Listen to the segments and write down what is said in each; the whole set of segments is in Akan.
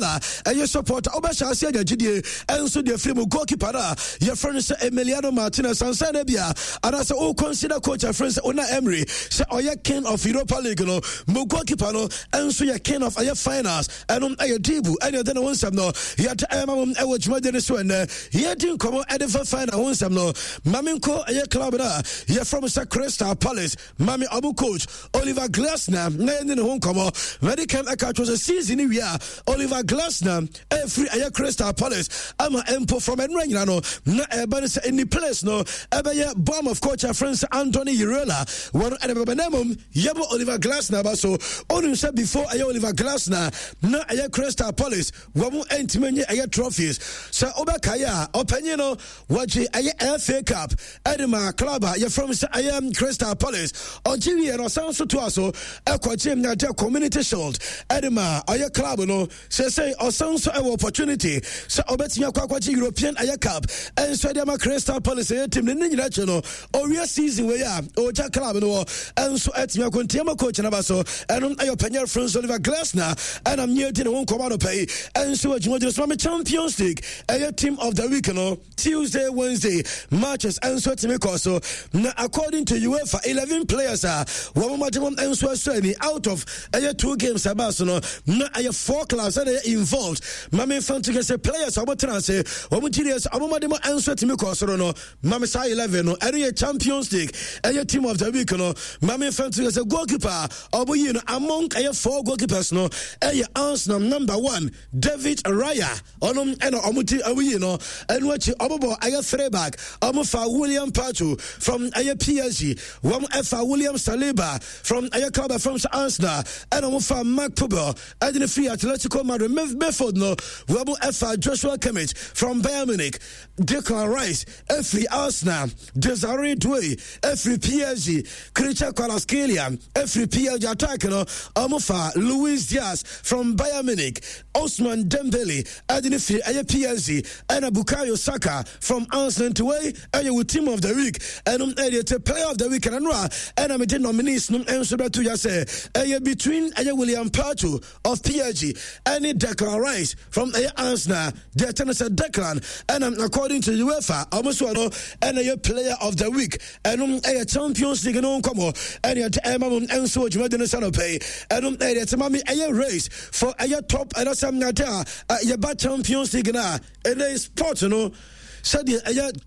Ɛyɛ supporter wobɛhyɛ ase anya gyidie ɛnso deɛ firi mu goalkeeper no a yɛfrɛ no sɛ Emiliano Martinez ansa na bia anaasɛ wo consider coach afrɛ sɛ Unai Emery sɛ ɔyɛ king of Europa League no mu goalkeeper no ɛnso yɛ king of ɛyɛ finals. Ɛno ɛyɛ Dibu ɛne ɛde ne ho nsɛm no yɛde ɛma mo ɛwɔ dwumadie no so. Ɛnɛ yɛdi nkɔmmɔ ɛde fa final ho nsɛm no. Ma menkɔ ɛyɛ club no a yɛfrɛ mo sɛ Crystal Palace. Mame ɔmo coach Oliver Glasner na yɛne ne ho nkɔmmɔ. Mɛde kan ɛka kyerɛ sɛ season no wie a, Oliver Glasner ɛfiri ɛyɛ Crystal Palace ama mpo from ɛnora nyina no na ɛba no sɛ ɛni place no ɛbɛyɛ bomb of coach afrɛ sɛ Anthony Iraola wɔn ɛna bɛbɛ. Na mmom yɛbɔ Oliver Glasner ba so. Onim sɛ before ɛyɛ Oliver Glasner na ɛyɛ Crystal Palace wɔn ntumi nye ɛyɛ trophies. Sɛ wobɛkaeɛ a, ɔpanyin no wɔgye ɛyɛ FA Cup ɛde ma club a yɛfrɛ m sɛ ɛyɛ Crystal Palace. Ɔgye wie no, ɔsan so toa so ɛkɔgye nyagye Community Shield ɛde ma ɔyɛ club no. Sɛsɛi ɔsan so ɛwɔ opportunity sɛ ɔbɛtumi akɔ akɔgye European ɛyɛ cup ɛnso ɛde ama Crystal Palace ɛyɛ team no. Ne nyina akyi no, ɔwie season wei a, ɔgya club no wɔ ɛnso ɛtumi akɔ ntiama coach no ba so. Ɛno ɛyɛ ɔpanyɛ frɛ Oliver Glasner ɛna mmea di ne ho nkɔmmɔ anɔpa yi ɛnso wɔ dwumadwuma so. Ma me Champions League ɛyɛ team of the week no, Tuesday, Wednesday matches ɛnso tumi kɔ so. Na according to UEFA, 11 players a wɔn mmɔde wɔn nso ɛsɔ ani out of ɛyɛ two games ɛbaa so no, na ɛyɛ four clubs ɛna ɛyɛ involved. Maame nfa nto kɛse players a wɔn tena ase wɔn ti deɛ wɔn mmɔde wɔn nso tumi kɔ soro no. Maame saa 11 no, ɛno yɛ Champions League ɛyɛ team of the week no. Maame nfa nto kɛse goalkeeper a wɔn yi no among ɛyɛ four goalkeepers no ɛyɛ Arsenal number one David Raya. Ɔno ɛna ɔmo ti ɔmo yi no. Ɛno akyi ɔmo bɔ ɛyɛ three back. Ɔmo fa William Pacho from ɛyɛ PSG, wɔn ɛfa William Saliba from ɛyɛ club from Arsenal, ɛna ɔmo fa Marc Pubill ɛde ne firi Atletico Madrid. Midfield no, wɔn ɛfa Joshua Kimmich from Bayern Munich, Declan Rice ɛfiri Arsenal, Desiree Doué ɛfiri PSG, Khvicha Kvaratskhelia ɛfiri PSG. Attack no, ɔmo fa Luis Diaz from Bayern Munich, Ousmane Dembele ɛde ne firi ɛyɛ PSG, ɛna Bukayo Saka from Arsenal. Nti wei ɛyɛ wo team of the week. Ɛno ɛyɛ te player of the week. Ɛna no a ɛna mede nominees no nso bɛto ya sɛ ɛyɛ between ɛyɛ William Pacho of PSG ɛne Declan Rice from ɛyɛ Arsenal. Deɛ ɛkyɛ no sɛ Declan ɛna according to UEFA ɔmo so no ɛna ɛyɛ player of the week. Ɛno ɛyɛ Champions League no nkɔmɔ ɛne ɛde ɛma mo nso wɔ dwumadi no sɛ no pɛi. Ɛno ɛyɛ deɛ ɛte me ɛyɛ race for ɛyɛ top ɛna sɛ nyade a yɛba Champions League no a ɛnɛ sport no sɛdeɛ ɛyɛ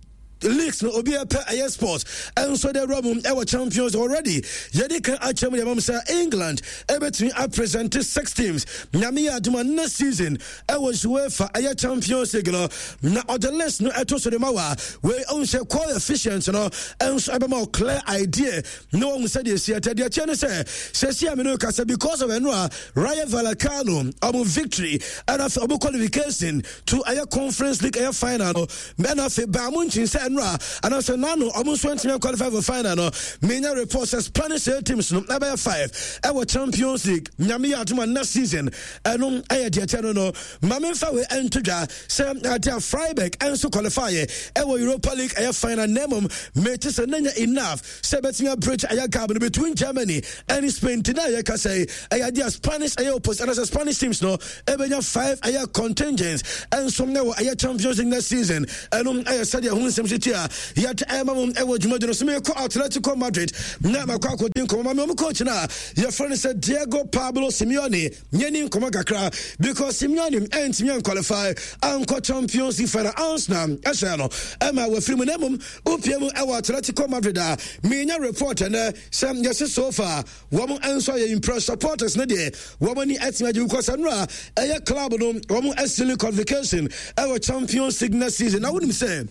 leagues no obi ɛpɛ ɛyɛ sport ɛnso de awura mu ɛwɔ Champions. Already yɛde kan akyerɛ mu deɛ mam sɛ England ɛbɛtumi apresent six teams, Nyame yɛ adoma, next season ɛwɔ UEFA ɛyɛ Champions League no. Na ɔde list no ɛto so de ma wa wei ɔhu sɛ coefficient no ɛnso ɛbɛma wo clear idea na wɔhu sɛdeɛ ɛsi ɛtɛ. Deɛ kyɛ ne sɛ sɛsi a me no kasa because of ɛno a Rayo Vallecano ɔmo victory ɛna afei ɔmo qualification to ɛyɛ Conference League ɛyɛ final no, ɛna afei baa mo nkyin sɛ ɛno a anaasɛ nano ɔmo nso ntumi qualify for final no. Menya report sɛ Spanish ɛyɛ teams no ɛbɛyɛ five ɛwɔ Champions League, Nyame yɛ adoma, next season. Ɛno ɛyɛ deɛ kyɛ no. Ma memfa wei ɛnto dwa sɛ ade a Freiburg ɛnso qualify ɛwɔ Europa League ɛyɛ final, na mmom mete sɛ nanya enough sɛ ɛbɛtumi abridge ɛyɛ gap no between Germany ɛne Spain. Nti na yɛka sɛ ɛyɛ adeɛ a Spanish ɛyɛ opposite anaasɛ Spanish teams no ɛbɛnya five ɛyɛ contingents ɛnso ɛwɔ ɛyɛ Champions League next season. Ɛno ɛyɛ sɛdeɛ ho nsɛm si ti a yɛde ɛma mo ɛwɔ dwumadi no so. Mekɔ Atletico Madrid na makɔ akɔdi nkɔmmɔ ma me ɔmo coach no a yɛfrɛ no sɛ Diego Pablo Simeone. Yɛni nkɔmmɔ kakra because Simeone ɛntumi anqualify ankɔ Champions League final. Arsenal ɛhyɛ no ɛma wafiri mu, na mmom wopie mu ɛwɔ Atletico Madrid a menya report ɛnɛ sɛ yɛse so far wɔn nso ayɛ impress supporters no deɛ, wɔn ani atumi agye because ɛno a ɛyɛ club no wɔn asili qualification ɛwɔ Champions League next season. Na wonim sɛ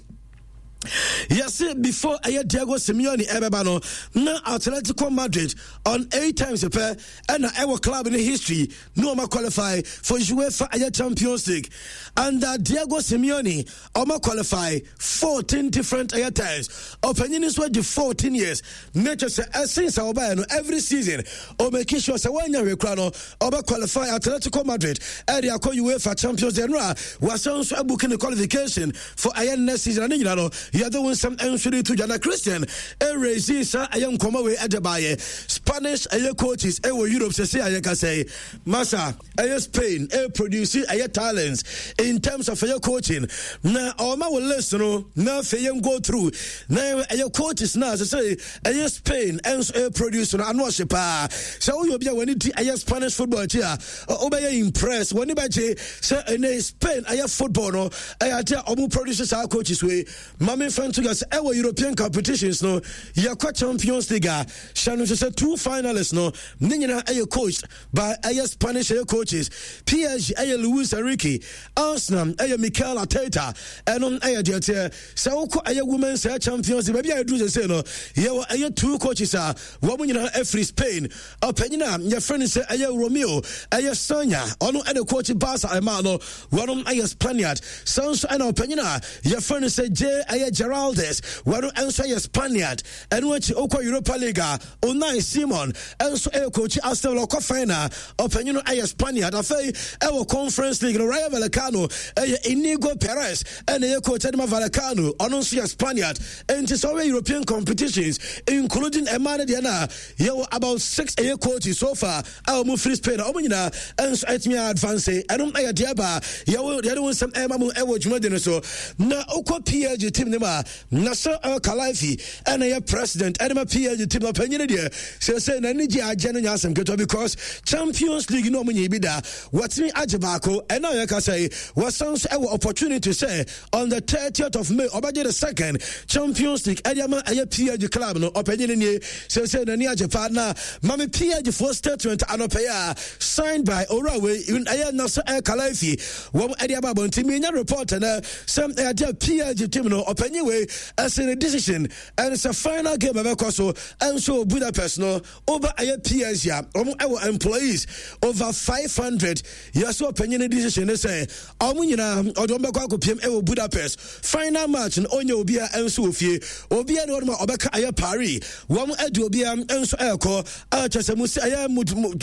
yɛse before ɛyɛ Diego Simeone ɛbɛba no, na Atletico Madrid on eight times pɛ ɛna ɛwɔ club no history na ɔma qualify for UEFA ɛyɛ Champions League. Under Diego Simeone, ɔma qualify 14 different ɛyɛ times. Ɔpanyin nso adi 14 years na kyerɛ sɛ ɛsen sɛ ɔbaeɛ no, every season ɔmake sure sɛ wɔanya hwɛ kura no ɔbɛ qualify Atletico Madrid ɛde akɔ UEFA Champions League. No a wasan nso abuki ne qualification for ɛyɛ next season. Ne nyina no Yɛde wo nsɛm nso de to dwa na Christian ɛrezi saa ɛyɛ nkɔmmɔ wei ɛde baayɛ. Spanish ɛyɛ coaches ɛwɔ Europe sɛsɛ a yɛkasa yi. Masa ɛyɛ Spain ɛyɛ produce ɛyɛ talents in terms of ɛyɛ coaching na ɔma wɔ list no na afei yɛn go through na ɛyɛ coaches na sɛ sɛ ɛyɛ Spain ɛnso ɛyɛ produce no ano ɔhye paa. Sɛ woyɛ obi a w'ani di ɛyɛ Spanish football akyi a, wobɛyɛ impress, w'ani bɛgye sɛ ɛnɛ Spain ɛyɛ football no ɛyɛ ade a ɔmo produce saa coaches wei. Ma memfa nto dwa sɛ ɛwɔ European competitions no, yɛkɔ Champions League a, hyɛ no nso sɛ two finalists no ne nyinaa ɛyɛ coached by ɛyɛ Spanish ɛyɛ coaches. PSG ɛyɛ Luis Enrique, Arsenal ɛyɛ Mikel Arteta. Ɛno ɛyɛ deɛ teɛ. Sɛ wokɔ ɛyɛ women's ɛyɛ Champions League, baabi a yɛduru sese no, yɛwɔ ɛyɛ two coaches a wɔn nyinaa ɛfiri Spain. Ɔpanyin a yɛfrɛ no sɛ ɛyɛ Romeo ɛyɛ Sanya, ɔno ɛna coach Barca ɛmaa no, wɔn ɛyɛ Spaniard. Sɛ nso ɛna ɔpanyin a yɛfrɛ no sɛ J ɛyɛ Geraldes, wɔn nso ɛyɛ Spaniard. Ɛno akyi wokɔ Europa League a, Unai Simon nso ɛyɛ coach Aston Villa, ɔkɔ final, ɔpanyin no ɛyɛ Spaniard. Afei ɛwɔ Conference League no, Rayo Vallecano ɛyɛ Inigo Perez ɛna ɛyɛ coach ɛde ma Vallecano, ɔno nso yɛ Spaniard. Enti sɛ ɔyɛ European competitions including ɛmaa no deɛ no a, yɛwɔ about six ɛyɛ coaches so far a wɔn firi Spain a wɔn nyinaa nso ɛtumi advance. Ɛno ɛyɛ deɛ ba yɛwɔ yɛde wɔn nsɛm ɛma mu ɛwɔ dwumadi no so. Na okɔ PSG team no mu a, Nasser El Khelaifi ɛna yɛ president ɛde ma PSG team no. Panyin deɛ sɛsɛ n'ani gye agye no nyɛ asɛm ketewa because Champions League no wɔn nyɛ bi da, wɔtumi agye baako. Ɛna yɛ kasa yi, wɔsan so ɛwɔ opportunity sɛ on the 30th of May ɔbɛgye the second Champions League ɛde ama ɛyɛ PSG club no. Ɔpanyin nie, sɛsɛ n'ani agye paa. Na mame PSG foɔ statement anɔpɛ yi a signed by owura wei ɛyɛ Nasser El Khelaifi wɔn ɛde aba abɔnten. Minya report ɛnɛ sɛ ɛyɛ PSG team no ɔpanyin wei ɛsɛ ne decision ɛne sɛ final game ɛbɛkɔ so ɛnso Budapest no. Over ɛyɛ PSG a wɔn ɛwɔ employees over 500, yɛsɛ ɔpanyin ne decision ne sɛ wɔn nyinaa ɔde wɔn bɛkɔ akɔpiem ɛwɔ Budapest final match no. Ɔnyɛ obiara ɛnso wɔ fie, obiara ne wɔn a ɔbɛka ɛyɛ Paris, wɔn ɛde obiara nso ɛrekɔ a kyɛ sɛ mo si ɛyɛ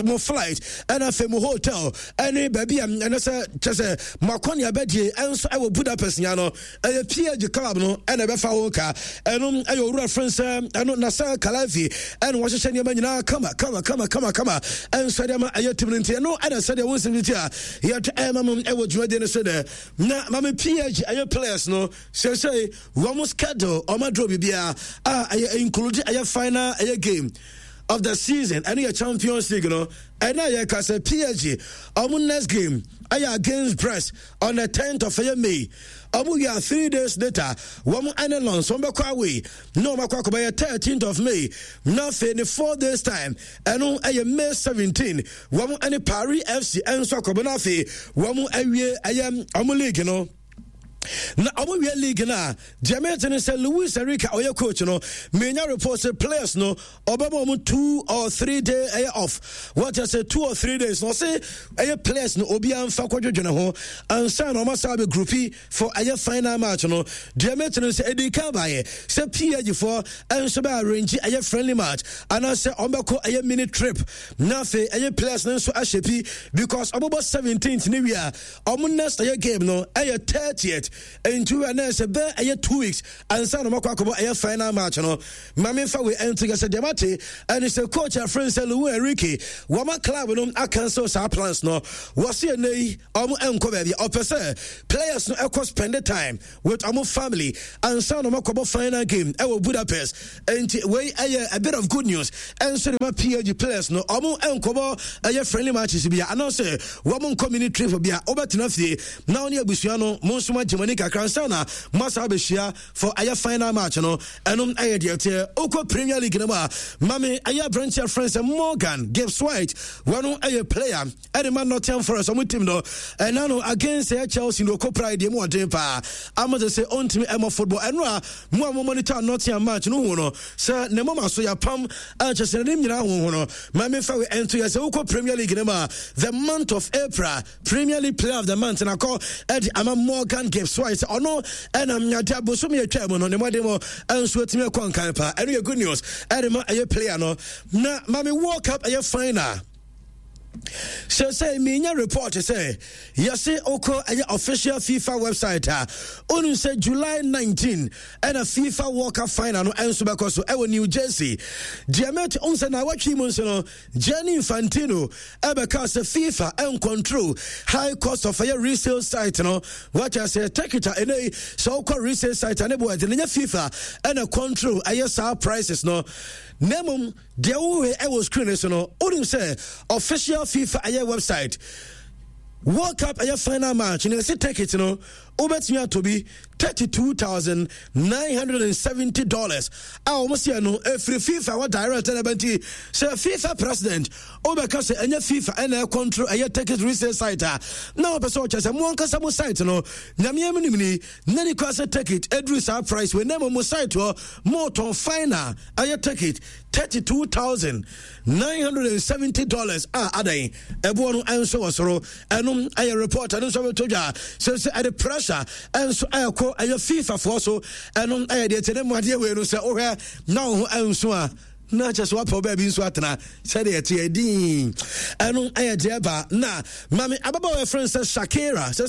mo flight ɛna afei mo hotel ɛne baabi a ɛnɛ sɛ kyɛ sɛ mo akɔnea bɛdie ɛnso ɛwɔ Budapest nya no, ɛyɛ PSG club no ɛna ɛbɛfa ho ka. Ɛno ɛyɛ owura fɛn sɛ ɛno Nasser Khelaifi ɛna wɔhyehyɛ nneɛma nyinaa kama kama kama kama kama ɛnso ɛde ama ɛyɛ team no. Nti ɛno ɛna sɛdeɛ wɔn nsɛm ti a yɛde ɛma mo ɛwɔ dwumadie no so dɛ. Na maame PSG ɛyɛ players no sɛsɛ wɔn schedule wɔn aduro biribiara a ɛyɛ include ɛyɛ final ɛyɛ game of the season, ɛno yɛ Champions League no. Ɛna yɛ ka sɛ PSG wɔn next game ɛyɛ against Brest on the 10th of ɛyɛ May. Wɔn wia 3 days later, wɔn ɛne Lens wɔn bɛkɔ away na wɔn akɔ akɔbɛyɛ 13th of May. Na afei ne 4 days time, ɛno ɛyɛ May 17, wɔn ɛne Paris FC ɛnso akɔbɔ na afei wɔn awie ɛyɛ wɔn league no. Na ɔmo wie league no a, deɛ mete ne sɛ Luis Enrique a ɔyɛ coach no, menya report sɛ players no ɔbɛma ɔmo 2 or 3 day ɛyɛ off. Wɔkyɛ sɛ 2 or 3 days na ɔse ɛyɛ players no obiara mfa kɔdwedwene ho ansa na ɔma saa bɛ group for ɛyɛ final match no. Deɛ mete ne sɛ ɛdi kan baayɛ sɛ PSG foɔ ɛnso bɛ arrange ɛyɛ friendly match anaasɛ ɔmo bɛkɔ ɛyɛ mini trip na afei ɛyɛ players no nso ahyɛ pi because ɔmobɔ 17th ne wie a, ɔmo next ɛyɛ game no ɛyɛ 30th. Nti wia na ɛsɛ bɛɛ ɛyɛ 2 weeks ansa na ɔmakɔ akɔbɔ ɛyɛ final match no. Maame fa wei ɛnto yɛ sɛ deɛ mate ɛne sɛ coach afrɛ sɛ Luis Enrique wɔma club no acancel saa plans no. Wɔse ɛnɛ yi ɔmo ɛnkɔ baabi, ɔpɛ sɛ players no ɛkɔ spend time with ɔmo family ansa na ɔmo akɔbɔ final game ɛwɔ Budapest. Nti wei ɛyɛ a bit of good news ɛnso de ma PSG players no. Ɔmo ɛnkɔbɔ ɛyɛ friendly matches bia anaasɛ wɔn nkɔ mini trip bia, wobɛtena fie na wɔne abusua no mo nso mo agye mo ani kakra ansa na mo asa abɛhyia for ɛyɛ final match no. Ɛno ɛyɛ deɛ teɛ. Wokɔ Premier League no mu a, mame ɛyɛ aberanteɛ frɛ sɛ Morgan Gibbs White, wɔno ɛyɛ player ɛde ma Nottingham Forest ɔmo team no. Ɛna no against ɛyɛ Chelsea no, ɔkɔ prae deɛ mu ɔden paa ama sɛ ɔntumi ɛmɔ football. Ɛno a mo a mo monitor Nottingham match no hu no sɛ ne moma so yɛapam a kyɛ sɛ n'anim nyinaa hoho no. Ma memfa wei ɛnto yɛ sɛ wokɔ Premier League no mu a, the month of April Premier League player of the month nakɔ ɛde ama Morgan Gibbs White. Sɛ ɔno ɛnam nyade abosom yɛ twaa mu no, ne mmɔden mu ɛnso atumi akɔ nkan paa. Ɛno yɛ good news ɛde ma ɛyɛ player no. Na mame World Cup ɛyɛ final. Sɛsɛ menya report sɛ yɛse wokɔ ɛyɛ official FIFA website a, wonim sɛ July 19 ɛna FIFA World Cup final no ɛnso bɛkɔ so ɛwɔ New Jersey. Deɛ mɛte wohu sɛ na awɔtwe mu nso no, Gianni Infantino ɛbɛka sɛ FIFA ɛncontrol high cost of ɛyɛ resale site no. Wakyɛ sɛ ticket a ɛnɛ yi sɛ wokɔ resale site a ne bo ɛde no, nyɛ FIFA ɛna control ɛyɛ saa prices no, na mmom deɛ wohwɛ ɛwɔ screen so no, wonim sɛ official FIFA ɛyɛ website, World Cup ɛyɛ final match na ɛsɛ ticket no wobɛtumi atɔ bi $32,970 a wɔn seɛ no ɛfiri FIFA wɔ direct ɛna bɛnti sɛ FIFA president wobɛka sɛ ɛnyɛ FIFA ɛna ɛcontrol ɛyɛ ticket resale site a, na wɔpɛ sɛ ɔkyɛ sɛ mo ankasa mo site no nyameɛ mu nimni na ni kora sɛ ticket ɛduru saa price wei, na mmom mo site hɔ motɔn final ɛyɛ ticket $32,970 a adan ɛboɔ no ɛnso wɔ soro. Ɛno ɛyɛ report, ɛno nso bɛtɔ dwa sɛ ɛde pressure ɛnso ɛkɔ ɛyɛ FIFA foɔ so. Ɛno ɛyɛ deɛ kyɛ ne mu adeɛ wei no sɛ wohwɛ na wo ho ɛnso a, na kyɛ sɛ wapɛ baabi nso atena sɛdeɛ ɛteɛ din. Ɛno ɛyɛ deɛ ba na mame ababaawa ɛfrɛ sɛ Shakira. Sɛ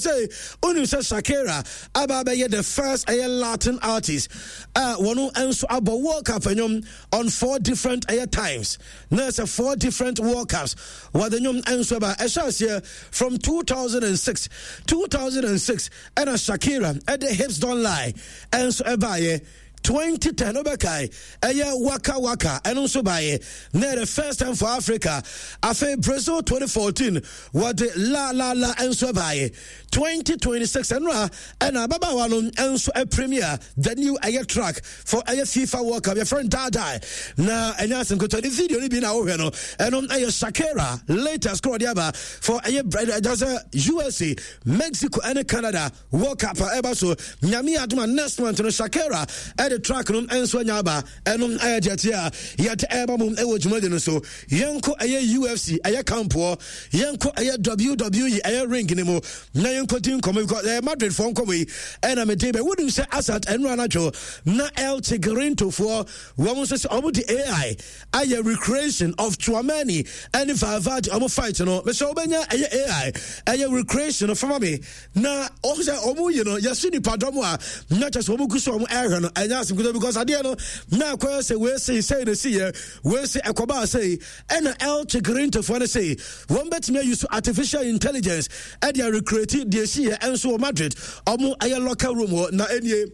wonim sɛ Shakira aba abɛyɛ the first ɛyɛ Latin artist a wɔno nso abɔ World Cup nnwom on four different ɛyɛ times, na sɛ four different World Cups wɔde nnwom nso ba. Ɛhyɛ aseɛ from 2006. 2006 ɛna Shakira ɛde Hips Don't Lie ɛnso ɛbaeɛ. 2010 wobɛkae ɛyɛ Waka Waka, ɛno nso baeɛ na ɛyɛ the first time for Africa. Afei Brazil 2014 wɔde La La La nso baeɛ. 2026 ɛno a ɛna ababaawa no nso premier the new ɛyɛ track for ɛyɛ FIFA World Cup, yɛfrɛ no Daadaa, na ɛnyɛ asɛm ketewa. Ne video no bi na wohwɛ no, ɛno ɛyɛ Shakira latest korɔ de aba for ɛyɛ ɛgya sɛ USA, Mexico ɛne Canada World Cup a ɛba so. Nyame adoma next month no Shakira ɛde track no nso anya aba. Ɛno ɛyɛ deɛ teɛ a yɛde ɛba mu ɛwɔ dwumadi no so. Yɛnkɔ ɛyɛ UFC ɛyɛ kampoɔ, yɛnkɔ ɛyɛ WWE ɛyɛ ring ne mu na yɛnkɔ di nkɔmɔ because ɛyɛ Madrid foɔ nkɔmɔ yi ɛna mede bɛ. Wonim sɛ asat ɛno anadwo na El Chiringuito foɔ wɔn nso sɛ wɔn de AI ayɛ recreation of Tchouameni ɛne Valverde wɔn fight no. Mesɛ wobɛnya ɛyɛ AI ɛyɛ recreation no fama me na ɔmo sɛ ɔmo yi no yɛsi nipadɔm a na kyɛ sɛ ɔmo gu so ɔmo ɛhwɛ no, ɛnyɛ asɛm kuta because adeɛ no na akɔyɛ sɛ wei sei sei na si yɛ wei sei ɛkɔbaa sei. Ɛna El Chiringuitofoɔ no sei wɔn bɛtumi ayi so artificial intelligence ɛde arecreate deɛ si yɛ ɛnso wɔ Madrid ɔmo ɛyɛ locker room hɔ. Na ɛnie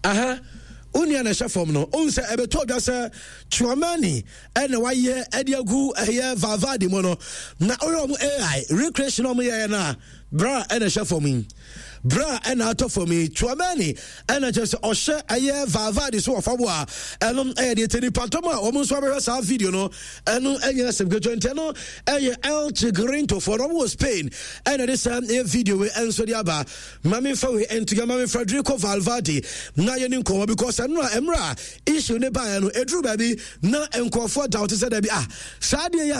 aha onua na ɛhyɛ fam no, ohun sɛ ɛbɛtɔ dwa sɛ Tchouameni ɛna wayɛ ɛde agu ɛyɛ Valverde mu no, na ɔyɛ ɔmo AI recreation ɔmo yɛɛ no a, bra ɛna ɛhyɛ fam yi, bra ɛna atɔ fam yi, Tchouameni ɛna kyerɛ sɛ ɔhyɛ ɛyɛ Valverde so wɔ fam a, ɛno ɛyɛ deɛ tɛ nipa dɔm a wɔn nso abɛhwɛ saa video no, ɛno ɛnyɛ asɛm ketewa. Nti ɛno ɛyɛ El Chiringuito foɔ no, ɔmo wɔ Spain, ɛna ɛde saa ɛyɛ video wei ɛnso de aba. Mame fa wei ntoga Mame Federico Valverde na yɛni nkɔmmɔ because ɛno a mmerɛ a issue ne baeɛ no, ɛduru baabi na nkurɔfoɔ doubt sɛ dabi ah, saa adeɛ yi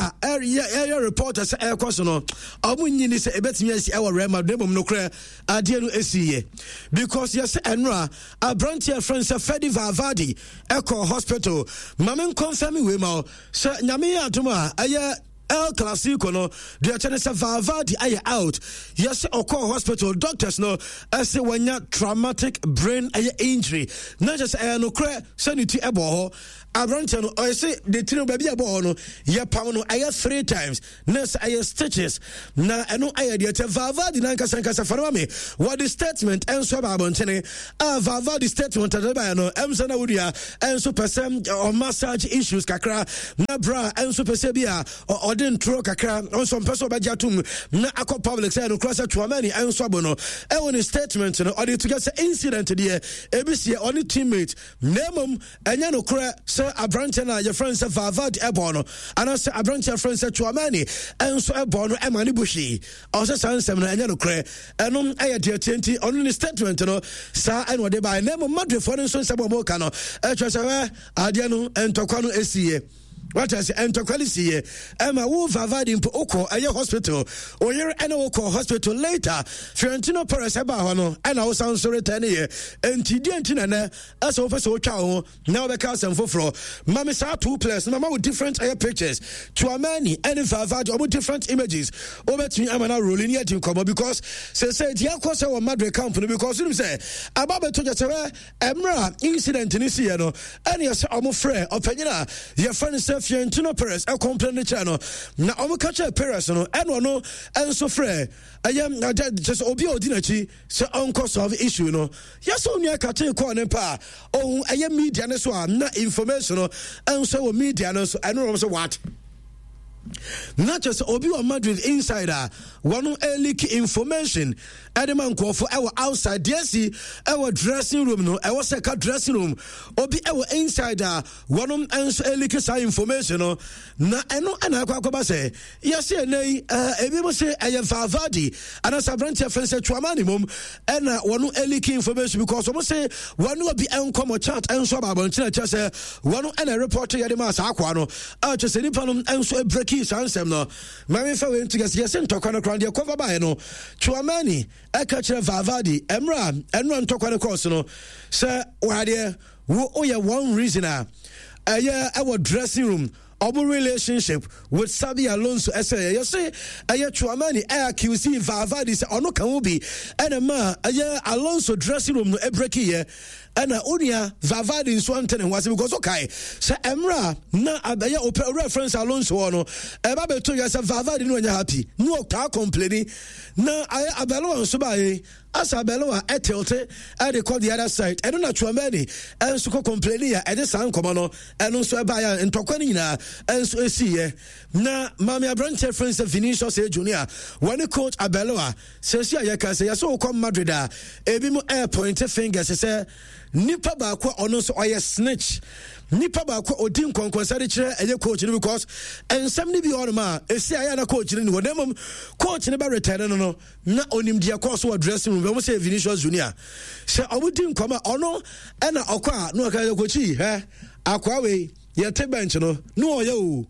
a ɛyɛ reporter sɛ ɛrekɔ so no, ɔmo nyini sɛ ɛbɛtumi asi ɛwɔ Real Madrid, na mmom nokorɛ adeɛ no ɛsiiɛ because yɛsɛ ɛno a aberanteɛ frɛ sɛ Fede Valverde ɛkɔ hospital. Mame nkɔmfɛme wei ma wo sɛ Nyame yɛ adom a ɛyɛ El Clasico no, deɛ ɛkyɛ ne sɛ Valverde ayɛ out. Yɛsɛ ɔkɔɔ hospital, doctors no ɛsɛ wanya traumatic brain ɛyɛ injury, na kyɛ sɛ ɛyɛ nokorɛ sɛ ne ti ɛbɔ hɔ. Aberanteɛ no ɔyɛ sɛ ne tiri no baabi a ɛbɔ hɔ no yɛpam no ɛyɛ three times na sɛ ɛyɛ stitches, na ɛno ɛyɛ deɛ kyɛ Valverde nankasa nkasa fa no ma me. Wɔde statement ɛnso aba abɔntene a Valverde statement ɛde baeɛ no ɛm sɛ na wodua ɛnso pɛ sɛ ɔmassage issues kakra na bra ɛnso pɛ sɛ bi a ɔde ntoro kakra ɔnso mpɛ sɛ ɔbɛgye atom na akɔ public sɛ ɛno kora sɛ Tchouameni ɛnso abo no. Ɛwɔ ne statement no ɔde to sɛ incident deɛ ebi seɛ ɔne teammate, na mmom ɛnyɛ nokorɛ sɛ aberanteɛ no a yɛfrɛ no sɛ Valverde ɛbɔɔ no anaasɛ aberanteɛ yɛfrɛ no sɛ Tchouameni ɛnso ɛbɔɔ no ɛma ne bu hwee. Ɔsɛ saa nsɛm no ɛnyɛ nokorɛ. Ɛno ɛyɛ deɛ tie nti ɔno ne statement no saa ɛna ɔde baeɛ. Na mmom Madridfoɔ no nso nsɛm a wɔka no ɛkyerɛ sɛ adeɛ no ntɔkwa no ɛsiiɛ. Wate ase ntɔkwa no siiɛ ɛma wo Valverde mpo wokɔ ɛyɛ hospital oyere ɛne wokɔ hospital later Fiorentino Perez ɛbaa hɔ no ɛna wosan nso retɛn ne yɛ enti deɛ nti na nɛ ɛsɛ wopɛ sɛ wotwa wo ho na wobɛka asɛm foforɔ ma me saa two players no mama wo different ɛyɛ pictures Tchouameni ɛne Valverde ɔmo different images wobɛtumi ama no aroli ne adi nkɔmmɔ because sɛ sɛ deɛ akɔ sɛ wɔ Madrid camp no because wonim sɛ aba bɛto gya sɛ Mmerɛ a incident no siiɛ no, ɛne ɛsɛ ɔmo frɛ ɔpanyin a yɛfrɛ no sɛ Fiorentino Perez ɛkɔmplɛn no kyerɛ no, na ɔmo ka kyerɛ Perez no, ɛna ɔno nso frɛ ɛyɛ kyerɛ sɛ obi a ɔdi n'akyi sɛ ɔnkɔ solve issue no. Yɛsɛ onua katee kɔɔ ne mpa a ɔhu ɛyɛ media no so a na information no nso wɔ media no so, ɛno na ɔmo sɛ what? Na kyerɛ sɛ obi wɔ Madrid inside a wɔn leak information ɛde ma nkurɔfo ɛwɔ outside deɛ si ɛwɔ dressing room no ɛwɔ sɛ ka dressing room obi ɛwɔ inside a wɔn nso ɛleak saa information no na ɛno ɛna akɔ akɔba sɛ yɛsi ɛnɛ yi ɛɛ ebi mo se ɛyɛ Valverde anaasɛ aberanteɛ fɛn sɛ Tchouameni mom ɛna wɔn ɛleak information because wɔn se wɔn obi ɛnkɔmɔ chat ɛnso aba abɔnten ɛkyɛ sɛ wɔn ɛna report yɛde ma saa akoa no a kyɛ sɛ nipa no nso ɛbreki saa nsɛm no. Ma memfa wei nto gya sɛ yɛse ntɔkwa no koraa deɛ kɔfa baeɛ no, Tchouameni ɛka kyerɛ Valverde mmerɛ a ɛnora ntɔkwa no kɔɔ so no sɛ wadeɛ wo woyɛ one reason a ɛyɛ ɛwɔ dressing room ɔmo relationship with Xabi Alonso ɛsɛ yɛ yɛse ɛyɛ Tchouameni ɛ accuse Valverde sɛ ɔno ka ho bi ɛna ma ɛyɛ Alonso dressing room no ɛbreki yɛ Ɛna onua Valverde nso ante ne ho ase because ɔkae sɛ mmerɛ a na ɛyɛ ɔpɛ owura Francis Alonso hɔ no ɛba bɛto yɛ sɛ Valverde no ɔnyɛ happy na ɔtaa complaini na ayɛ Arbeloa nso baeɛ asa Arbeloa ɛtilte ɛde kɔ the other side ɛno na Tchouameni ɛnso kɔ complaini a ɛde saa nkɔmɔ no ɛno nso ɛbaeɛ a ntɔkwa no nyinaa ɛnso ɛsiiɛ na maame aberanteɛ Francis Vinicius Junior wɔne coach Arbeloa Seesei a yɛka sɛ yɛsɛ wokɔ Madrid a, ebinom ɛrepointe fingers sɛ nipa baako a ɔno nso ɔyɛ snitch, nipa baako a ɔdi nkɔnkɔnsa de kyerɛ ɛyɛ coach no because nsɛm no bi wɔ hɔnom a ɛsi a ɛyɛ na coach no ni hɔ na mmom coach no bɛ return no no na onim deɛ kɔɔ so wɔ dressing room. Wɔn sɛ Vinicius Junior sɛ ɔmo di nkɔmɔ a ɔno ɛna ɔkɔ a na ɔka sɛ coach hɛ akoa wei yɛte bench no na ɔyɛ o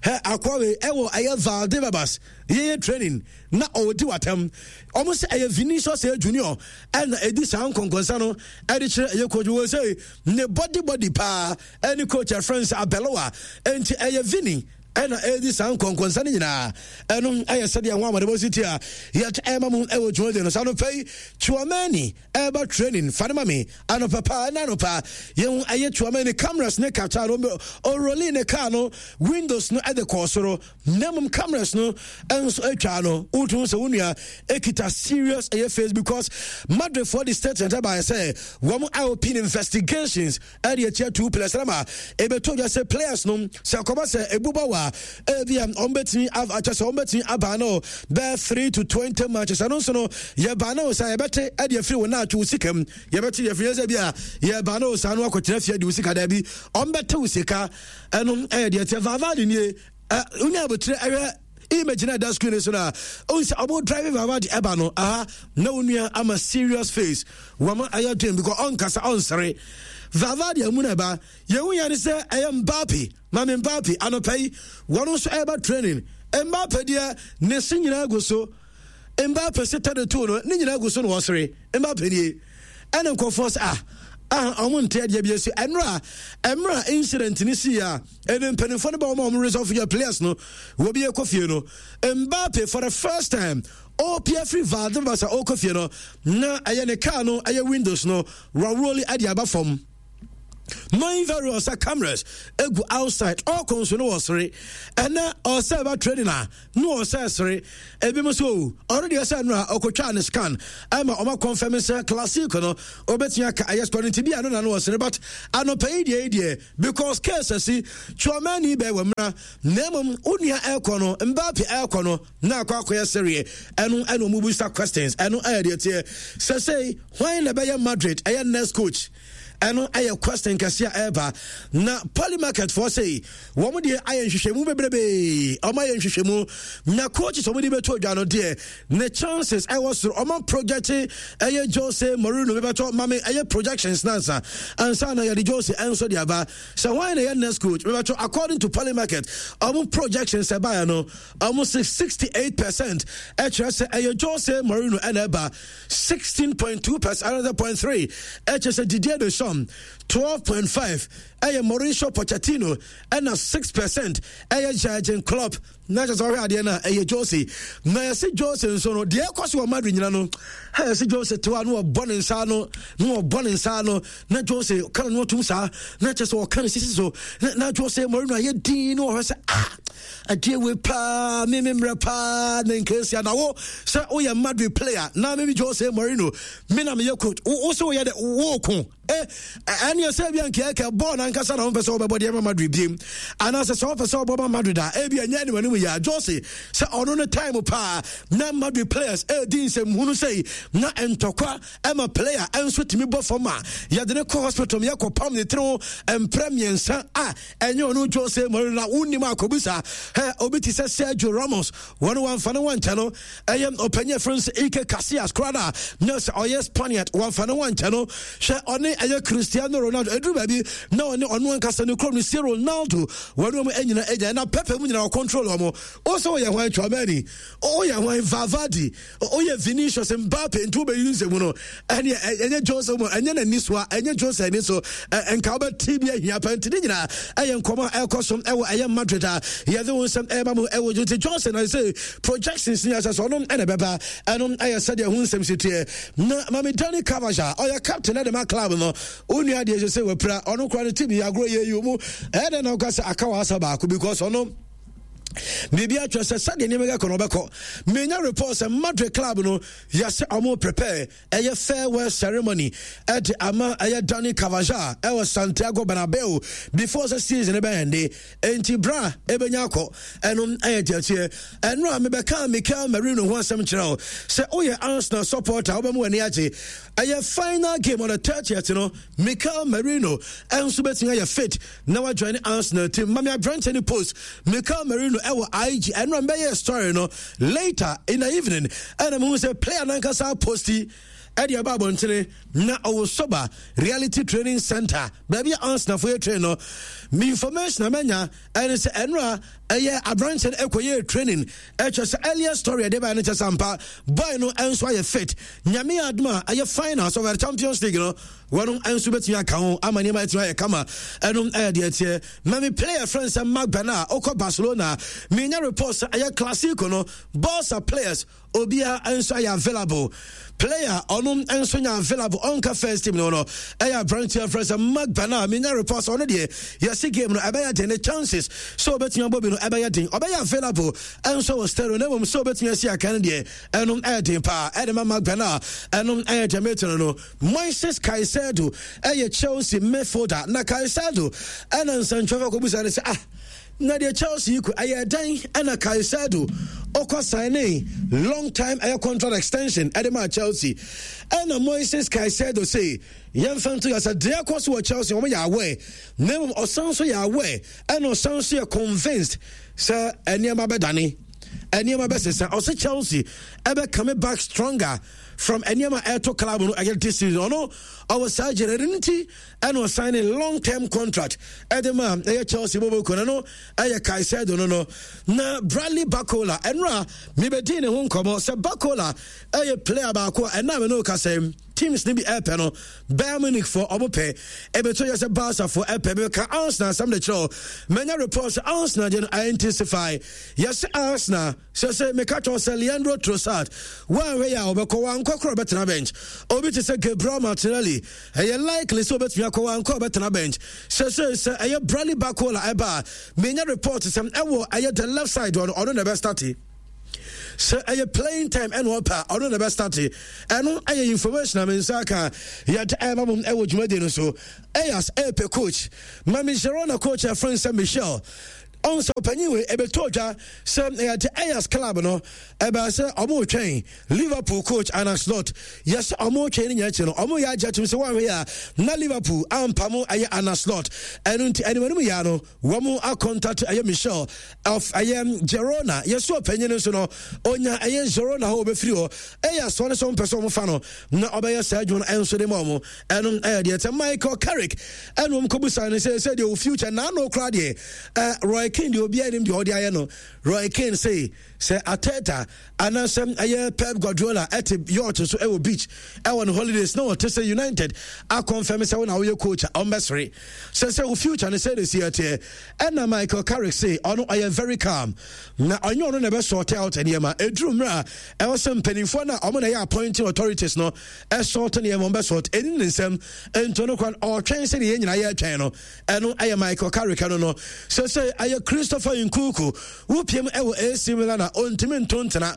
hɛ akoa wei ɛwɔ ɛyɛ Valdebebas yɛyɛ training na ɔredi w'atɛm. Wɔn sɛ ɛyɛ Vinicius ɛyɛ Junior ɛna ɛdi saa nkɔnkɔnsa no ɛde kyerɛ ɛyɛ coach wɔ sɛ ne body body paa ɛne coach ɛfrɛ sɛ Abeloa ɛnti ɛyɛ Vini ɛna ɛdi saa nkɔnkɔnsa no nyinaa ɛno ɛyɛ sɛdeɛ ho amadebɔ si ti a yɛte ɛma mu ɛwɔ dwumadie no saa no pɛ yi Tchouameni ɛba training fa no ma me anɔpa paa ɛna anɔpa yɛhu ɛyɛ Tchouameni cameras ne kata no ɔroli ne car no windows no ɛde kɔɔ soro Na mmom cameras no nso atwa no wotu sɛ wo nua ekita serious ɛyɛ face because Madrid for the statement ɛbaeɛ sɛ wɔn a open investigations ɛde akyia two players na ma ebeto dwa sɛ players no sɛ kɔba sɛ ebu ba wa ebi a wɔn bɛtumi akyɛ sɛ wɔn bɛtumi aba no bɛɛ 3 to 20 matches. Ɛno nso no yɛba no sɛ yɛbɛte ɛde afiri wɔn atwe wo sika mu yɛbɛte yɛfiri yɛ sɛ bi a yɛba no saa no akɔtena fie de wo sika daabi wɔn bɛte wo sika. Ɛno ɛyɛ deɛ tiɛ Valverde nie. Wonya abotire ɛhwɛ image na ɛda screen so na ohun sɛ ɔmo driving Valverde ɛba no aha na wo nua ama serious face wɔn ayɛ den because ɔnkasa ɔnsere Valverde amu na ɛba yɛn yɛn sɛ ɛyɛ Mbappe maame Mbappe anɔpɛ yi wɔn nso ɛba training. Mbappe deɛ ne se nyinaa gu so. Mbappe se 32 no ne nyinaa gu so na wɔsere. Mbappe nie ɛne nkurɔfoɔ sɛ ah ah ɔmo nte adeɛ bi esi ɛnora ɛmra incident ne si a ɛne mpanimfoɔ no bɛ wɔn a wɔn resolve yɛ players no wɔ bi ɛkɔ fie no. Mbappe for the first time ɔpia firi Valdebebas a ɔkɔ fie no na ɛyɛ ne car no ɛyɛ windows no wɔroli ɛde aba fam knowing very well sɛ cameras egu outside ɔkɔ nso no wɔsere ɛnɛ ɔsɛ ɛba training a na ɔsɛ sere ebi mo so ɔno deɛ sɛ no a ɔkɔtwaa ne scan ɛma ɔma confirm sɛ classic no ɔbɛtumi aka ɛyɛ score no nti bi a no na no ɔsere but anɔpɛ yi deɛ yi deɛ because case asi Tchouameni bɛɛ wɔ mmra na mmom wo nua ɛkɔ no Mbappe ɛkɔ no na akɔ akɔyɛ sereɛ ɛno ɛna ɔmo bisa questions. Ɛno ɛyɛ deɛ teɛ sɛ sɛ hwan na ɛbɛyɛ Madrid ɛyɛ next coach. Ɛno ɛyɛ question kɛse a ɛreba. Na Polymarket foɔ sei, wɔn deɛ ayɛ nhwehwɛmu bebrebe. Wɔn ayɛ nhwehwɛmu. Na coaches wɔn de bɛto dwa no deɛ, ne chances ɛwɔ soro. Wɔn project ɛyɛ Jose Mourinho bɛbɛtɔ mame ɛyɛ projections nansa. Ansa na yɛde Jose ɛnso de aba. Sɛ hwan na ɛyɛ next coach bɛbɛtɔ according to Polymarket, wɔn projections ɛbaeɛ no, wɔn se 68% ɛkyerɛ sɛ ɛyɛ Jose Mourinho ɛna ɛba. 16.2% another 0.3 ɛkyɛ sɛ Didier Deschamps 12.5 ɛyɛ Mauricio Pochettino ɛna 6% ɛyɛ Jurgen Klopp. Na kyɛ sɛ ɔhwɛ adeɛ no a ɛyɛ Jose. Na yɛse Jose nso no deɛ ɛkɔ so wɔ Madrid nyina no, yɛse Jose tewa no ɔbɔ ne nsa no na ɔbɔ ne nsa no na Jose ka no ɔtum saa na kyɛ sɛ ɔka ne sisi so na Jose Mourinho ayɛ din na ɔhwɛ sɛ ah, adeɛ wei paa me me mmerɛ paa na nkansia na wo sɛ woyɛ Madrid player na me me Jose Mourinho me na meyɛ coach wo sɛ woyɛ dɛ woko eh ɛneɛ sɛ ebia nka ɛkɛ bɔɔl no ankasa na wompɛ sɛ wobɛbɔ deɛ ma Madrid biem anaasɛ sɛ wopɛ sɛ wobɔ ma Madrid a ebi ɛnyɛ anim anim yɛ a Jose sɛ ɔno no time paa na Madrid players ɛredi nsɛmhunu sɛi na ntɔkwa ɛma player ɛnso tumi bɔ fam a yɛde ne kɔ hospital yɛkɔ pam ne tiri ho mprɛ mmiɛnsa a ɛnyɛ ɔno Jose Mourinho na wonnim akɔbisa ɛ obi te sɛ Sergio Ramos wɔn wɔmfa ne wankyɛ no ɛyɛ ɔpanyin ɛfrɛ no sɛ Iker Casillas koraa na na sɛ ɔyɛ Spaniard wɔmfa ne wankyɛ no hwɛ ɔne ɛyɛ Cristiano Ronaldo ɛduru baabi na ɔne ɔno ankasa ne kurom no si Ronaldo wɔn wɔn nyina agya na Pepe mu nyina ɔcontrol wɔn o sɛ ɔyɛ hwan Tchouameni ɔyɛ hwan Valverde Oyɛ Vinicius Mbappe nti wobɛyi nsɛmu no ɛne ɛnyɛ Jose mu ɛnyɛ n'ani so a ɛnyɛ Jose ani so nka wobɛte bi ahia pa nti ne nyinaa ɛyɛ nkɔmɔ a ɛkɔ so ɛwɔ ɛyɛ Madrid a yɛde wo nsɛm ɛma mu ɛwɔ nti Jose na sɛ projections ni asɛ sɛ ɔno ɛna ɛbɛba ɛno ɛyɛ sɛdeɛ ho nsɛm si teɛ na Mame Dani Carvajal ɔyɛ captain ɛde ma club no wo nua deɛ sɛ wapira ɔno kora no team yɛ agorɔ yɛ yi mu ɛyɛ dɛn na woka sɛ aka wɔ asa baako because ɔno biribi atwerɛ sɛ sɛdeɛ nneɛma kɛkɔ no ɔbɛkɔ. Menya report sɛ Madrid club no yɛsɛ ɔmo prepare ɛyɛ farewell ceremony ɛde ama ɛyɛ Dani Carvajal ɛwɔ Santiago Bernabeu before sɛ season bɛyɛ nde enti bra ɛbɛnya akɔ ɛno ɛyɛ gyɛteɛ. Ɛno a mebɛka Mikel Merino ho asɛm kyerɛ wo sɛ woyɛ Arsenal supporter wobɛma w'ani agye. Ɛyɛ final game on the 30th no Mikel Merino ɛnso bɛtumi ayɛ fit na wa join Arsenal team. Mami aberanteɛ ne post Mikel Merino ɛwɔ IG ɛno a mbɛyɛ story no later in the evening ɛna mehu sɛ player nankasa posti ɛde ɛba abɔntene na ɔwɔ soba reality training center baabi a Arsenal fo yɛ train no. Me information a manya ɛne sɛ ɛno a ɛyɛ aberanteɛ no ɛkɔyɛ training ɛkyɛ sɛ earlier story ɛde baɛ no kyɛ sɛ ampa boy no ɛnso ayɛ fit. Nyame adom a ɛyɛ finals of the Champions League no wɔn nso bɛtumi aka ho ama nneɛma atumi ayɛ kama. Ɛno ɛyɛ deɛ teɛ. Na me player friend sɛ Marc Bernal ɔkɔ Barcelona, menya report sɛ ɛyɛ Clasico no Barca players obiara nso ayɛ available. Player ɔno nso nya available ɔnka first team no no ɛyɛ aberanteɛ frɛ sɛ Marc Bernal. Menya report sɛ ɔno deɛ yɛsi game no ɛbɛyɛ den, ne chances sɛ ɔbɛtumi abɔ bi no ɛbɛyɛ den. Ɔbɛyɛ available ɛnso wɔ stereo na mmom sɛ ɔbɛtumi asi akan no deɛ ɛno ɛyɛ den paa ɛde ma Marc Bernal. Ɛno ɛyɛ deɛ metene no. Moises Caicedo yɛ Chelsea midfielder na Caicedo ɛna nsɛntwerɛfoɔ akɔbusa no sɛ ah na deɛ Chelsea yi ko ɛyɛ dɛn ɛna Caicedo ɔkɔ signing long time ɛyɛ contract extension ɛde maa Chelsea. Ɛna Moises Caicedo say yɛmfa nto yɛ sɛ deɛ ɛkɔ so wɔ Chelsea wɔn yɛ aware, na mmom ɔsan so yɛ aware ɛna ɔsan so yɛ convinced sɛ nneɛma bɛdane, nneɛma bɛsesa. Ɔsɛ Chelsea ɛbɛ coming back stronger from nneɛma ɛto club no ɛyɛ this season. Ɔno ɔwɔ saa gyere no nti ɛna ɔsan ne long term contract ɛde ma ɛyɛ Chelsea bɔbɔ no no ɛyɛ Caicedo no na Bradley Barcola ɛnora mebɛdi ne ho nkɔmmɔ sɛ Barcola ɛyɛ player baako a ɛna me no kasa teams ne bi ɛpɛ no. Bayern Munich fo ɔmo pɛ ɛbɛtɔ yɛ sɛ Barca fo ɛpɛ. Bɛka Arsenal asɛm de kyerɛ manya report sɛ Arsenal deɛ no intensify. Yɛsɛ Arsenal sɛ meka kyerɛ sɛ Leandro Trossard woanhwɛ yɛ a ɔbɛkɔ, wankɔ korɔ ɔbɛtena bench. Obi te sɛ Gabriel Martinelli ɛyɛ likely sɛ ɔbɛtumi akɔ, wankɔ ɔbɛtena bench. Sɛ ɛyɛ Bradley Barcola ɛba a menya report sɛ ɛwɔ ɛyɛ the left side ɔno na ɛbɛstarte. Sɛ ɛyɛ playing time ɛna ɔpɛ a ɔno na ɛbɛstarte. Ɛno ɛyɛ information a me nsa aka yɛde ɛma mom ɛwɔ dwumadie no so. Ɛyas ɛpɛ coach Mami Girona coach ɛfrɛ sɛ Michel. Ɔn sɛ ɔpanyin wei ɛbɛtɔ dwa sɛ ɛyɛ de Ajax club no ɛbɛyɛ sɛ ɔmo retwɛn Liverpool coach Arne Slot. Yɛ sɛ ɔmo retwɛn ne nyinaa akyi no, ɔmo yɛ agye atum sɛ wɔanhwɛ yɛ a na Liverpool ampamo ɛyɛ Arne Slot. Ɛno nti animanim yɛ no wɔn akɔntate ɛyɛ Michel of ɛyɛ Girona. Yɛ sɛ ɔpanyin no nso no onya ɛyɛ Girona hɔ ɔbɛfiri hɔ. Ajax wɔn nso mpɛ sɛ ɔmo fa no na ɔbɛyɛ saa adwuma no ɛnso de ma ɔmo. Ɛno ɛyɛ deɛ sɛ Michael Carrick ɛna wɔn kɔbusa no sɛ sɛ deɛ o future n'ano koraa deɛ ɛ Roy Keane deɛ obiara nim deɛ ɔde ayɛ no. Roy Keane sɛ sɛ Arteta anaasɛ ɛyɛ Pep Guardiola ɛte yacht so ɛwɔ beach ɛwɔ ne holidays na ɔte sɛ United akɔnfɛm sɛ wɔn na ɔyɛ coach a ɔmbɛsere sɛ sɛ o future no sɛ de si ɛteɛ. Ɛna Michael Carrick sɛ ɔno ɔyɛ very calm na ɔnyɛ ɔno na ɛbɛ sort out nneɛma. Ɛduru mmerɛ a ɛwɔ sɛ mpanimfoɔ no a ɔmo na ɛyɛ appointing authorities no ɛsort nneɛma, ɔmo bɛ sort. Ɛni ne nsɛm nti no kwan ɔtwɛn sɛ deɛ yɛn nyinaa yɛtwɛn no. Ɛno ɛyɛ Michael Carrick no no. Sɛ sɛ ɛyɛ Christopher Nkunku wopiem ɛwɔ AC Milan a ɔntumi nto ntena.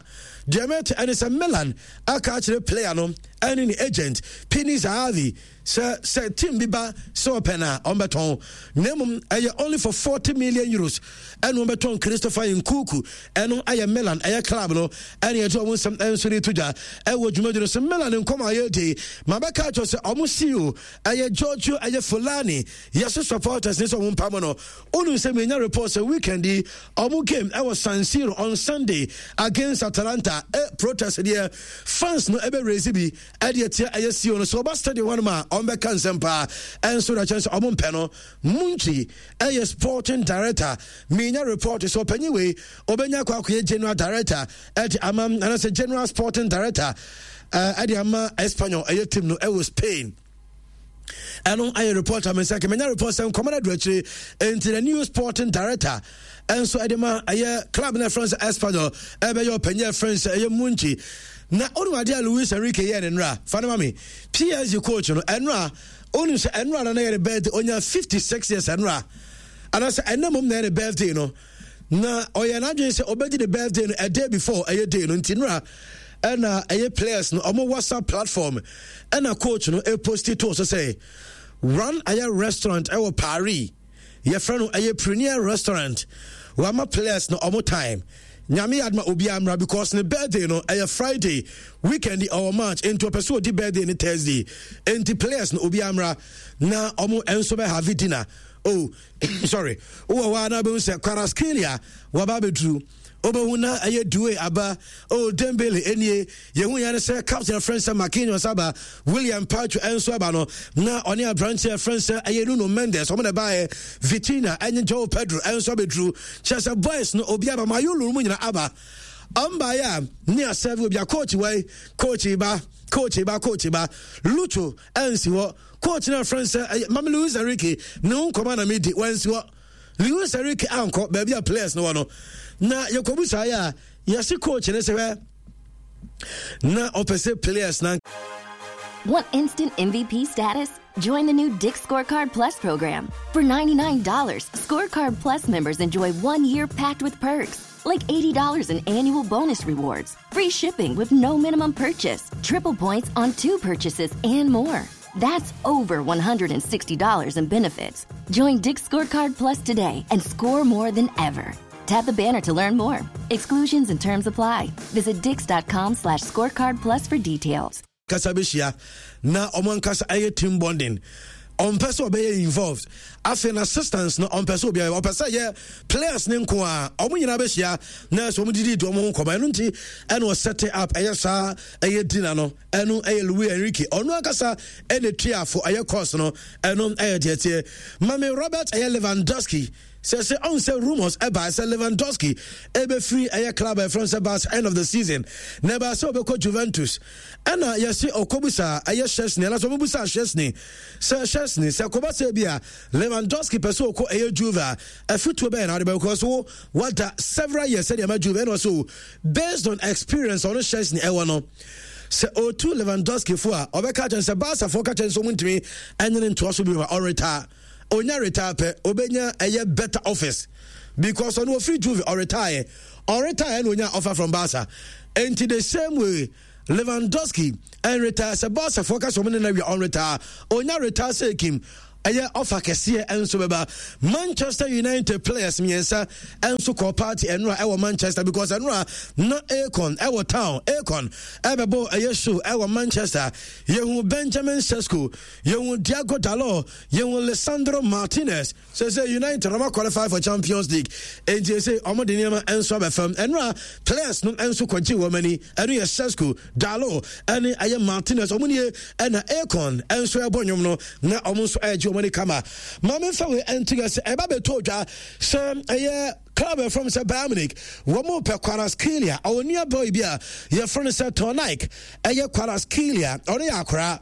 Deɛ mɛte ɛne sɛ Milan aka akyerɛ player no ɛne ne agent Pini Zahavi sɛ sɛ team bi ba sɛ ɔpɛ no a ɔmbɛtɔn, na mmom ɛyɛ only for 40 million euros ɛna ɔmbɛtɔn Christopher Nkunku. Ɛno ɛyɛ Milan ɛyɛ club no ɛne ɛde ɔmo nsɛm ɛnso de to dwa ɛwɔ dwumadwi no so. Milan nkɔm a yɛdi ma bɛka akyerɛ sɛ ɔmo CEO ɛyɛ Giorgio ɛyɛ Fulani yɛso supporters ne sɛ ɔmo mpam no. Wonim sɛ menya report sɛ weekend yi ɔmo game ɛwɔ San Siro on Sunday against Atalanta, protest deɛ fans no ɛbɛ raise bi ɛde atia ɛyɛ CEO no. Sɛ ɔba stadium hɔnom a ɔmbɛka nsɛm paa ɛnso na kyɛn sɛ ɔmo mpɛ no. Munchi ɛyɛ sporting director, menya report sɛ ɔpanyin wei ɔbɛnya akɔ akɔyɛ general director ɛde ama anaasɛ general sporting director ɛde ama Espanyol ɛyɛ team no ɛwɔ Spain. Ɛno ayɛ report a mensa kɛmɛnya report sɛ nkɔmɔ no adu akyire nti the new sporting director ɛnso ɛde ma ɛyɛ club no ɛfrɛ sɛ Espanyol ɛbɛyɛ ɔpanyin ɛfrɛ sɛ ɛyɛ Munchi. Na ɔnum adeɛ a Luis Enrique yɛ ne nnora fa no ma me PSG coach no ɛnora. Ɔnum sɛ ɛnora no na yɛ ne birthday, ɔnya 56 years ɛnora anaasɛ ɛnna mom na yɛ ne birthday no, na ɔyɛ n'adwene sɛ ɔbɛdi ne birthday no a day before ɛyɛ day no. Nti nora ɛna ɛyɛ players no ɔmo WhatsApp platform ɛna coach no ɛposti to so sɛ run ɛyɛ restaurant ɛwɔ Paris, yɛfrɛ no ɛyɛ Premier Restaurant. Wama players no ɔmo time, Nyame yɛ adoma obiara mmra because ne birthday no ɛyɛ Friday, weekend ɔwɔ match nti ɔpɛ sɛ ɔdi birthday ne Thursday. Nti players no obiara mmra na ɔmo nso bɛ have dinner. Oh, sorry, wowɔ hɔ a na bɛhu sɛ Kvaratskhelia waba abɛduru, wobɛhu na ɛyɛ Doue aba. Oh, Dembele enie. Yɛhu yɛn sɛ captain frɛ sɛ Marquinhos aba, William Pacho ɛnso aba no na ɔne aberanteɛ frɛ sɛ ɛyɛ Nuno Mendes ɔmo na ɛbaeɛ. Vitinha ɛne Joao Pedro ɛnso abɛduru. Kyerɛ sɛ boys no obi aba, Mayulu mu nyina aba. Ɔmbaeɛ a ne asɛve obi a coach wai, coach ba, coach ba, coach ba, Lucho ɛnsi hɔ. Coach no afrɛ sɛ ɛyɛ Mame Luis Enrique ne ho nkɔmɔ na medi, wansi hɔ. Luis Enrique ankɔ baabi a players no wɔ no na yɛkɔbu saa yɛ a yɛse coach ne sɛ hwɛ na ɔpɛ sɛ players na. Want instant MVP status? Join the new Dick's Scorecard Plus program. For $99, Scorecard Plus members enjoy 1 year packed with perks, like $80 in annual bonus rewards, free shipping with no minimum purchase, triple points on two purchases, and more. That's over $160 in benefits. Join Dick's Scorecard Plus today and score more than ever. Tap the banner to learn more. Exclusions and terms apply. Visit dicks.com/scorecard plus for details. Kasa bɛhyia na ɔmo ankasa ɛyɛ team bonding. Ɔmpɛ sɛ ɔbɛyɛ involved. Afei na assistance no ɔmpɛ sɛ obiara, ɔpɛ sɛ yɛ players ne nko a ɔmo nyinaa bɛhyia na sɛ ɔmo didi di ɔmo ho nkɔmɔ. Ɛno nti ɛna ɔset up ɛyɛ saa ɛyɛ dinner no. Ɛno ɛyɛ Luis Enrique ɔno ankasa ɛna tuafo ɛyɛ course no. Ɛno ɛyɛ deɛ teɛ. Mame Robert ɛyɛ Lewandowski sɛ sɛ ɔn sɛ rumors ɛba sɛ Lewandowski ɛbɛfiri ɛyɛ club a ɛfrɛ sɛ Barca end of the season na ɛbaa sɛ ɔbɛkɔ Juventus. Ɛna yɛse ɔkɔbusa ɛyɛ Szczesny anaasɛ ɔbɛbusa Szczesny sɛ Szczesny sɛ kɔba sɛ bi a Lewandowski pɛ sɛ ɔkɔ ɛyɛ Juve a, afutuo bɛyɛ na ade bɛkɔ so wada several years sɛdeɛ ma Juve. Ɛna ɔsɛ based on experience ɔno Szczesny ɛwɔ no sɛ ɔtu Lewandowski fo a, ɔbɛka kyɛn sɛ Barca foɔ ka kyɛn sɛ ɔmo ntumi ɛnyene ntoa so bi ma ɔretire. Onya retire pɛ, obenya ɛyɛ better office because ɔno ofiri Juve ɔretire, ɔretire na onya offer from Barca. Nti the same way Lewandowski ɛnretire, sɛ Barca foɔ ka sɛ ɔmo ne na wia ɔnretire, onya retire sɛ Kim. Ɛyɛ ɔfa kɛseɛ nso bɛba. Manchester United players mmiɛnsa nso kɔɔ party ɛnora ɛwɔ Manchester because ɛnora na Akon ɛwɔ town. Akon ɛbɛbɔ ɛyɛ show ɛwɔ Manchester. Yɛhu Benjamin Sesko, yɛhu Diogo Dalot, yɛhu Lisandro Martinez. Sese United ɔma qualify for Champions League. Enti ese ɔmo de nneɛma nso abɛfam. Ɛnora players no nso kɔgye wɔn ani. Ɛno yɛ Sesko, Dalot ɛne ɛyɛ Martinez. Ɔmo nie ɛna Akon nso ɛbɔ nnwom no na ɔmo nso ɛregye wɔn ani kama. Maame nfa wei ɛnto yɛ sɛ ɛba bɛtɔ dwa sɛ ɛyɛ club ɛfrɛ sɛ Bayern Munich wɔn mo pɛ Kvaratskhelia. Ɔwɔ nua boy bi a yɛfrɛ no sɛ Tornike. Ɛyɛ Kvaratskhelia, ɔno yɛ akora.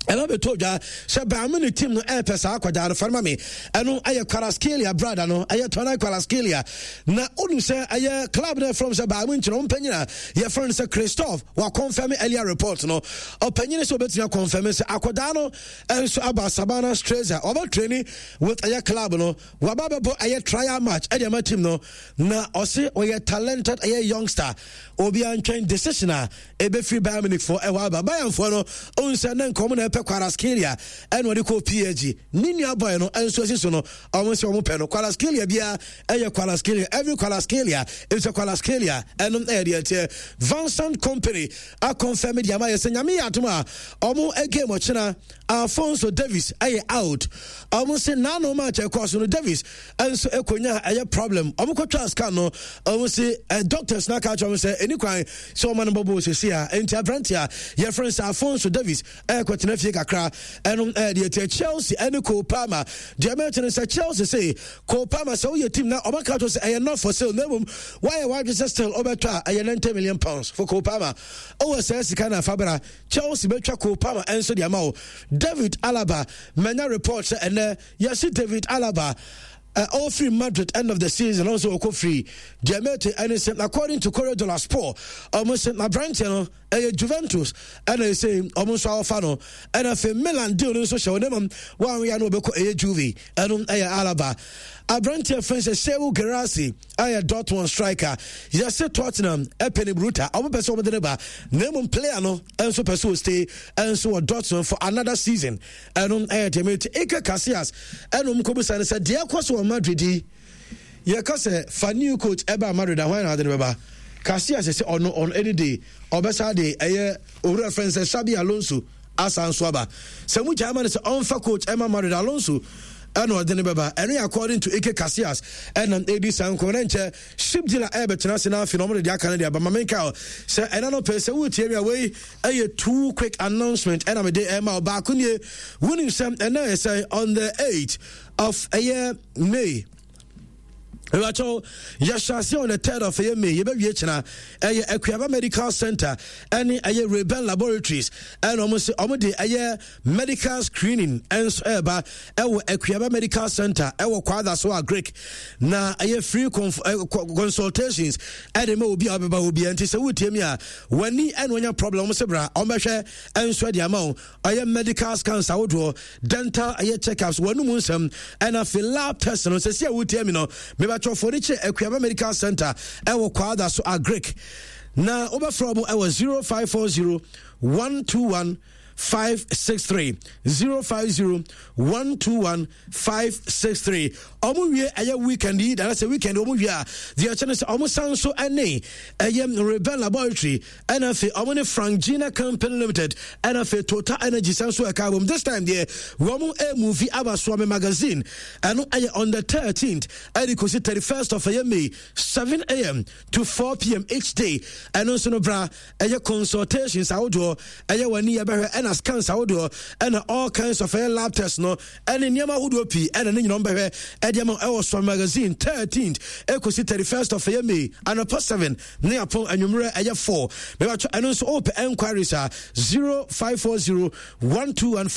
Ɛna bɛtɔ dwa sɛ Bayern Munich team no ɛrepɛ saa akwadaa no farima me. Ɛno ɛyɛ Kvaratskhelia brada no, ɛyɛ Tornike Kvaratskhelia. Na wonim sɛ ɛyɛ club no ɛfrɛ sɛ Bayern Munich no ɔmpanyin a yɛfrɛ no sɛ Christoph wakɔnfɛme earlier report no. Ɔpanyin sɛ ɔbɛtumi akɔnfɛme sɛ akwadaa no nso aba Sabana Streza, ɔbɛ training with ɛyɛ club no, waba bɛbɔ ɛyɛ trial match ɛde ama team no. Na ɔse ɔyɛ talented ɛyɛ youngster. Obiara ntwɛn decision a ɛbɛfiri Bayern Munich foɔ ɛhɔ aba. Bayern foɔ no ɔhu sɛ ne nkɔm na ɛpɛ Kvaratskhelia ɛna ɔde kɔɔ PSG. Ne nua boy no nso asi so no, ɔmo sɛ ɔmo pɛ no. Kvaratskhelia biara ɛyɛ Kvaratskhelia, every Kvaratskhelia is a Kvaratskhelia. Ɛno ɛyɛ deɛ ɛteɛ. Vincent Kompany akɔnfɛm de ama yɛ sɛ Nyame yɛ adom a ɔmo game ɔkyena Alphonso Davies ɛyɛ out. Ɔmo se n'ano match ɛkɔɔ so no Davies nso ɛkɔnya ɛyɛ problem. Ɔmo kɔtwa scan no, ɔmo se doctors no aka akyerɛ ɔmo sɛ ɛni kwan sɛ ɔma no bɔbɔ sɛsi a. Enti aberante a yɛfrɛ no sɛ Alphonso Davies ɛkɔtena fie kakra. Ɛno ɛyɛ deɛ ɛteɛ. Chelsea ɛne Cole Palmer deɛ mɛte no sɛ Chelsea se Cole Palmer sɛ woyɛ team na ɔma ka kyerɛ sɛ ɛyɛ not for sale na mmom woayɛ w'adwene sɛ still ɔbɛtɔ a ɛyɛ 90 million pounds for Cole Palmer. Ɔwɔ saa sika no afa bra. Chelsea bɛtwa Cole Palmer nso de ama wo. David Alaba manya report sɛ ɛnɛ yɛse David Alaba ɔfiri Madrid end of the season ɔnso ɔkɔ free. Deɛ mɛte ɛne sɛ according to Corriere dello Sport ɔmo sɛ aberanteɛ no ɛyɛ Juventus ɛna ɛsɛ ɔmo nso awɔfa no. Ɛna afei Milan deal no nso hyɛ wɔn nemam wɔn no ɔbɛkɔ ɛyɛ Juve. Ɛno ɛyɛ Alaba. Aberanteɛ fɛn sɛ Serhou Guirassy ɛyɛ Dortmund striker. Yɛse Tottenham ɛpɛ ne bruta, ɔmo pɛ sɛ ɔmo de ne ba, na mmom player no nso pɛ sɛ ɔstay ɛnso wɔ Dortmund for another season. Ɛno ɛyɛ deɛ mete. Iker Casillas ɛna ɔmo kɔbisa no sɛ deɛ ɛkɔ so wɔ Madrid yi, yɛka sɛ fa new coach ɛba Madrid a hwan na ade no bɛba? Casillas sɛ ɔno on any day ɔbɛsa de ɛyɛ owura fɛn sɛ Xabi Alonso asan so aba. Sɛ mu gyaa ma no sɛ ɔmfa coach ɛma Madrid, Alonso ɛna ɔde no bɛba. Ɛno yɛ according to Iker Casillas ɛna ɛdi saa nkɔmɔ. Na nkyɛ ship dealer ɛbɛtena ase na afei na ɔmo de deɛ aka no de aba. Ma menka sɛ ɛna no pɛ sɛ wotie mi a, wei ɛyɛ two quick announcement ɛna mede ɛma ɔbaako nie. Wonim sɛ ɛna yɛ sɛ on the 8th of ɛyɛ May, ɛbɛkyɛw yɛhyɛ ase on the 3rd of ɛyɛ May, yɛbɛwie kyena. Ɛyɛ Akuaba Medical Center ɛne ɛyɛ Rayben Laboratories ɛna ɔmo sɛ ɔmo de ɛyɛ medical screening ɛnso ɛɛba ɛwɔ Akuaba Medical Center ɛwɔ Kwada so a Greek, na ɛyɛ free consultations ɛde ma obi a ɔbɛba obi. Nti sɛ wotie mi a w'ani ɛna ɔnya problem, ɔmo sɛ bra ɔmo bɛhwɛ ɛnso ɛde ama wo. Ɛyɛ medical scans ahodoɔ, dental ɛyɛ checkups, wɔn mu nsɛm, ɛna afei lab test no. Sɛsi a wotie mi no, mebatwɔfoɔ de kyerɛ Akuaba Medical Center ɛwɔ Kwada so Agric, na wobɛfrɛ ɔmo ɛwɔ 0540 121 563, 050 121 563. Ɔmo wie ɛyɛ weekend yi dara sɛ weekend ɔmo wie a, deɛ ɛkyɛ no sɛ ɔmo san so ɛne ɛyɛ Rebel Laboratory ɛna afei ɔmo ne Frank Gina Company Limited ɛna afei Total Energy san so ɛka abom. This time deɛ wɔn ɛmuvi aba Soame Magazine. Ɛno ɛyɛ on the 13th ɛde kɔsi 31st of ɛyɛ May, 7 a.m. to 4 p.m. each day. Ɛno nso no bra, ɛyɛ consultations ahodoɔ, ɛyɛ w'ani yɛbɛhwɛ, ɛna scans ahodoɔ, ɛna all kinds of ɛyɛ lab test no ɛne nneɛma ahodoɔ pii ɛna ne nyinaa bɛhwɛ ɛde ama ɛwɔ Sɔn Magazine 13th ɛkɔsi 31st of ɛyɛ May, anɔpa 7 ne apɔn anwummerɛ ɛyɛ 4. Mɛbɛtɔ ɛno nso wopɛ enquiries a, 0540 121.